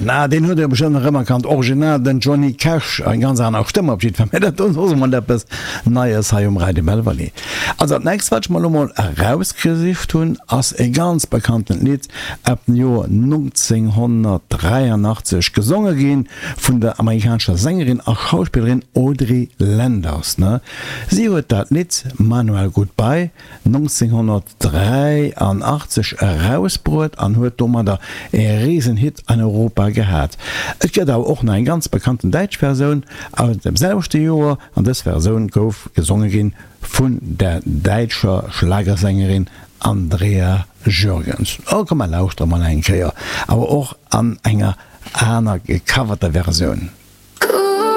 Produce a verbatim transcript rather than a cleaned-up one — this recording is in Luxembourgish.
Na, deen hutt Dir bestëmmt nach ëmmer kannt, original den Johnny Cash, eng ganz aner Stëmm op jiddwer Fall, mä dat do ass och emol eppes Neies hei um Radio Belval. Also dat nächst wat ech mer elo mol erausgesicht hunn, ass e ganz bekanntent Lidd ab dem Joer nonzénghonnertdräianachtzeg, gesonge gi vun der amerikanescher Sängerin a Schauspillerin Audrey Landers. Si huet dat Lidd Manuel Goodbye nonzénghonnertdräianachtzeg erausbruet an huet domadder e Risenhit an Europa gehat. Et gëtt awer och nach eng ganz bekannten däitsch Versioun aus dem selwechte Joer an dës Versioun gouf gesonge gi vun der däitscher Schlagersängerin Andrea Jürgens. Oh komm mer lauschtere mol eng Kéier, awer och an enger aner gecoverter Versioun.